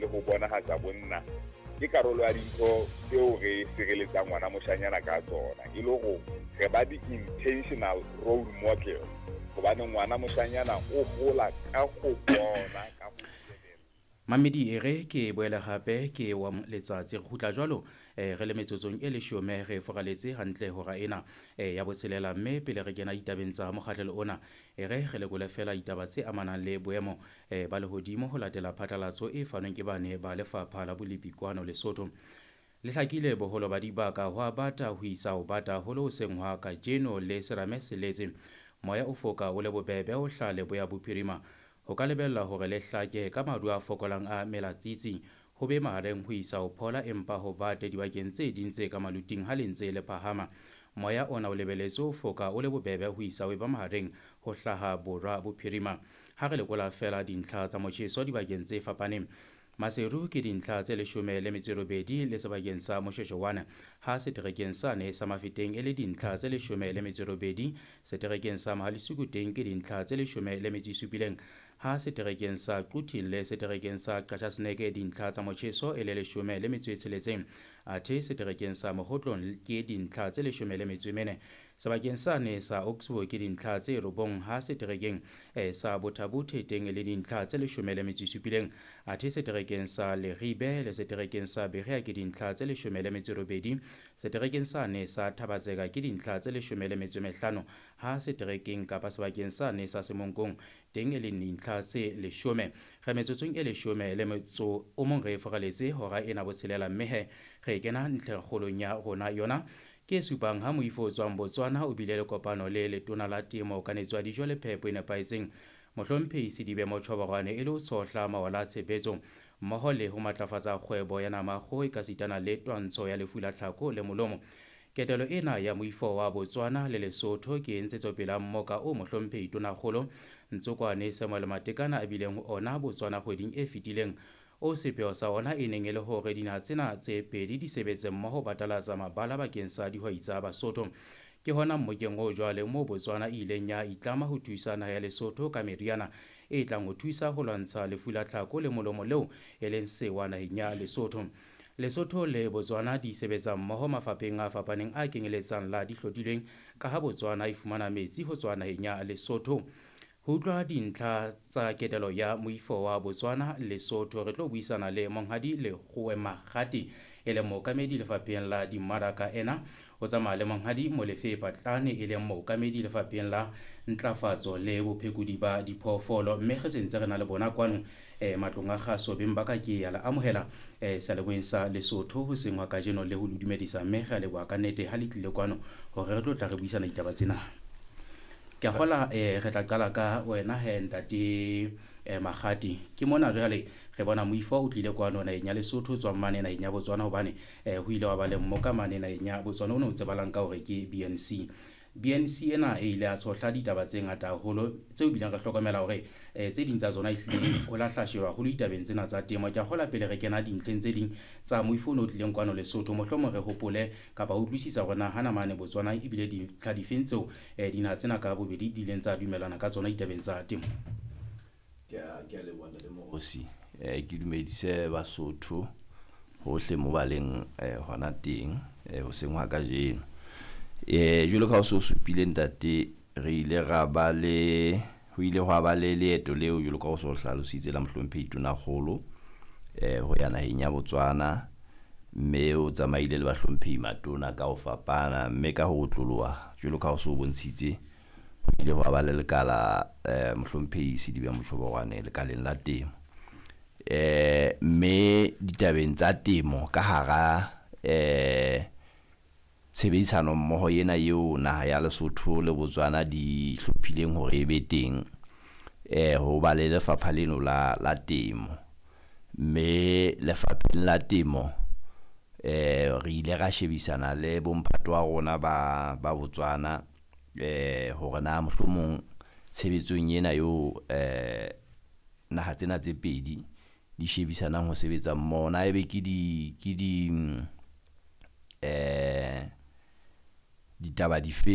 le ho bonahatsa bonna ke karolo ya dintho tseo re sireletsang ngwana moshanyana ka tsona, e le hore re ba di-intentional role model, hobane ngwana moshanyana o hola ka go bona ka go Mamedi e re ke boele gape ke wa letsatsi re kgutla jwalo re le metsotsong e leshome re foraletse hantle hora ena ya botshelela, mme pele re kena ditabeng tsa mokgahlelo ona e re re lekole fela ditaba tse amanang le boemo ba lehodimo ho latela phatlalatso e fanweng ke bane ba lefapha la bolepi kwano Lesotho. Le hlakile boholo ba dibaka ho a bata ho isa ho bata haholo hoseng hwa kajeno le serame se letse. Moya o foka o le bobebe ho hlaha leboya bophirima. Ho ka lebellwa hore le hlake ka maru a fokolang a melatsitsi, ho be mahareng ho isa ho phola empa ho bate dibakeng tse ding tse ka maluting ha le ntse le phahama. Moya ona o lebelletswe ho foka o le bobebe ho isa ho eba mahareng ho hlaha borwa bophirima. Ha re lekola feela dintlha tsa motjheso dibakeng tse fapaneng, Maseru ke dintlha tse 18 le sebakeng sa Moshoeshoe, ha seterekeng sane sa Mafeteng e le dintlha tse 18, seterekeng sa Mohalesuku teng ke dintlha tse 17, ha seterekeng sa Quthing le seterekeng sa Qachaseneke dintlha tsa motjheso e le 16, athe seterekeng sa Mokhotlong ke dintlha tse 14. Sebakeng sane sa Oxbow ke dintlha tse 9, ha seterekeng sa Bothabothe teng e le dintlha tse 17, athe seterekeng sa Leribe le seterekeng sa Berea ke dintlha tse 18, seterekeng sane sa Thabatseka ke dintlha tse 15, ha seterekeng kapa sebakeng sane sa Semonkong teng e le dintlha tse 10. Re metsotsong e 11 re foraletse hora ena botshelela, mme he re kena ntlheng kgolong ya rona yona ke supang ha moifo o tswang Botswana o bile le kopano le letona la temo kanetso ya dijo le phepo e nepahetseng mohlomphehi Sedibe Mochoborwane e le ho tshohla mawala a tshebetso mmoho le ho matlafatsa kgwebo ya nama kgoho ekasitana le twantsho ya lefu la tlhako le molomo. Ketelo ena ya moifo wa Botswana le Lesotho ke ntshetsopele ya mmoka o mohlomphehi Tonakgolo Ntsokwane Samuel Matekane a bileng ho ona Botswana kgweding e fetileng, o sepheo sa ona e neng e le hore dinaha tsena tse pedi di sebetse mmoho batalatsa mabala bakeng sa dihwai tsa Basotho. Ke hona mmokeng o jwale moo Botswana e ileng ya itlama ho thusa naha ya Lesotho ka meriana e tlang ho thusa ho lwantsha lefu la tlhako le molomo leo e leng sewa naheng ya Lesotho. Lesotho le Botswana di sebetsa mmoho mafapheng a fapaneng a kenyeletsang la dihlodilweng, ka ha Botswana e fumana metsi ho tswa naheng ya Lesotho. Ho utlwa dintlha tsa ketelo ya moifo wa Botswana Lesotho, re tlo buisana le monghadi Lekgowe Makgati e leng mookamedi lefapheng la dimmaraka. Ena o tsamaya le monghadi Molefe Patlane e leng mookamedi lefapheng la ntlafatso le bophekodi ba diphoofolo, mme re sentse re na le bona kwano matlong a kgaso. Beng ba ka ke ya le amohela seyalemoyeng sa Lesotho hoseng hwa kajeno le ho le dumedisa, mme re a leboha ka nnete ha le tlile kwano hore re tlo tla re buisana ditaba tsena. Ke a kgola re tla qala ka wena he ntate Makgati. Ke mona jwale re bona moifo o tlile kwano naheng ya Lesotho o tswang mane naheng ya Botswana, hobane ho ile wa ba le mmoka mane naheng ya Botswana o ne o tsebalang ka hore ke BNC. BNC ena e ile ya tshohla ditaba tse ngata haholo tseo bileng re hlokomela hore tse ding tsa tsona ehlile ho lahla sheba haholo ditabeng tsena tsa temo. Ke a kgola pele re kena dintlheng tse ding tsa moifo o ne o tlileng kwano Lesotho, mohlomong re hopole kapa ho utlwisisa hore na hana mane Botswana ebile dintlha difeng tseo dinaha tsena ka bobedi di ileng tsa dumellana ka tsona ditabeng tsa temo. Ke a leboha ntate Mokosi. Ke dumedise Basotho hohle mo ba leng hona teng hoseng hwa kajeno. Jwalo ka ha o so supile ntate, re ile ra ba le ho ile hwa ba le leeto leo jwalo ka ha o so hlalositse la mohlomphehi Tonakgolo ho ya naheng ya Botswana, mme o tsamaile le bahlomphehi matona ka ho fapana, mme ka ho otloloha jwalo ka ha o so bontshitse ho ile hwa ba le lekala mohlomphehi Sedibe Mochoborwane lekaleng la temo. Mme ditabeng tsa temo ka hara tshebedisano mmoho ena eo naha ya Lesotho le Botswana di hlophileng hore e be teng, ho ba le lefapha leno la temo. Mme lefapheng la temo re ile ra shebisana le bomphato wa rona ba Botswana hore na mohlomong tshebetsong ena eo naha tsena tse pedi di shebisanang ho sebetsa mmoho, na ebe ke di ditaba dife.